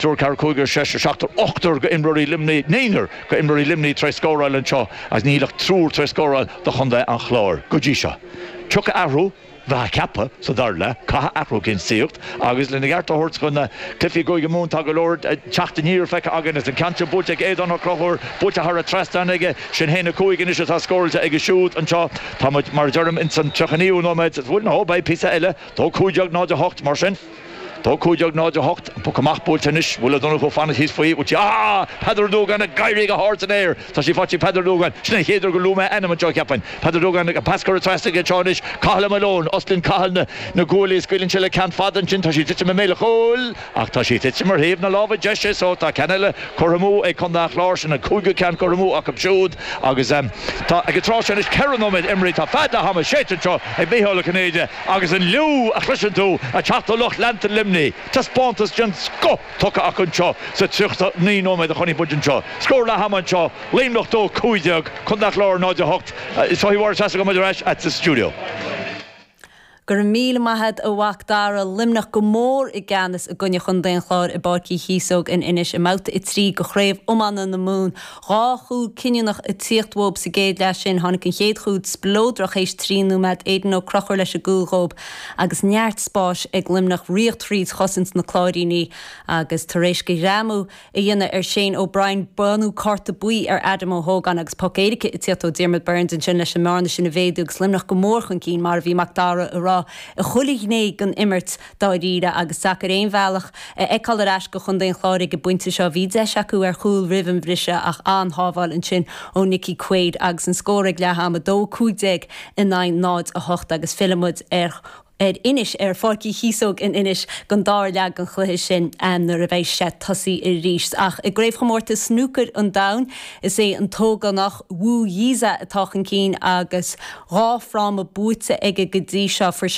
Triúr, ceathrar, cúigear, seisear, seachtar, ochtar go imreoirí Luimnigh, naonúr go imreoirí Luimnigh tar éis scóráil anseo agus níl ach triúr tar éis scóráil do chontae an Chláir go dtí seo. Tiocfaidh athrú, bheifeá ag ceapadh, sa dara leath. Caithfidh athrú éicint tíocht agus lena gceart a thabhairt do na cluichí i gCúige Mumhan tá go leor teacht aniar feicthe againn agus an ceann seo buailte ag Aodán Ó Conchúir, buailte thar an trasnán aige. Sin 1-5 anois atá scóráilte aige siúd anseo. Tá muid, mar a deirim, ins an 39ú nóiméad. Bhuel, nó beidh píosa eile, 2-15 0-8 mar sin. 2 15 0 8, An poc amach buailte anois. Bhfuil Ó Donnchú fanacht thíos faoi? Bhfuil sí? Ah! Peadar Ó Dúgáin ag éirí go hard san aer. Tá sí faighte ag Peadar Ó Dúgáin. Sin an chéad uair gur luaigh mé a ainm anseo, cheapfainn. Peadar Ó Dúgáin, an pas curtha trasna aige anseo anois. Cathal Malone. Osclaíonn Cathal na na guaillí. Scaoileann sé le ceann fada ansin. Tá sí ag titim i mbéal an chúil. Ach tá sí ag titim ar thaobh na láimhe deise so tá ceann eile curtha amú ag Contae an Chláir. Sin an cúigiú ceann curtha amú acu siúd. Agus tá ag an tráth seo anois 4 nóiméad imrithe. Tá fead leath ama séidte anseo ag Micheál Ó Cinnéide. Agus an liú a chloiseann tú ag teacht ó lucht leanta Luimnigh, taispeántas den scoth tugtha acu anseo sa 39 nóiméad a chonaic muid anseo. Scór leath ama anseo, Luimneach 2, 15, Contae an Chláir 0, 8. Is dóigh Mháire Treasa go mbeidh muid ar ais agat sa stiúideo. Go raibh míle maith a't a Mhac Dara. Luimneach go mór i gceannas i gcoinne Chontae an Chláir i bPáirc Uí Chíosóg in Inis i mbabhta 3 de Chraobh Iomána na Mumhan. 2 chúl cinniúnach ag tíocht uathub sa gcéad leath sin. Tháinig an chéad chúl spleodrach théis 3 nóiméad, Aidan Ó Conchúir leis an gcúl dhób agus neart spáis ag Luimneach ríocht thríd chosaint na Cláiríní agus tar éis do ghreamú a dhéanamh ar Shane O'Brien bronnadh cárta buí ar Adam Ó hÓgáin agus poc éirice ag tíocht ó Diarmuid Byrnes ansin leis an mbearna sin a mhéadú agus Luimneach go mór chun cinn mar a bhí Mac Dara a rá i chuile ghné den imirt dáiríre agus deacair aon bhealach a fheiceáil ar ais do chontae an Chláir ag an bpointe seo. Bhí deis acu ar chúl roimh an bhriseadh ach an-shábháil ansin ó Nickie Quaid agus an scór ag leath ama, 2, 15 in aghaidh 0, 8 agus fillfidh muid ar ar Inis, ar Pháirc Uí Chíosóg in Inis don dara leath den chluiche sin nuair a bheidh sé tosaithe arís. Ach i gCraobhchomórtas Snúcair an Domhain, is é an t-ógánach Wu Yize atá chun cinn agus 2 fráma buaite aige go dtí seo. Fuair.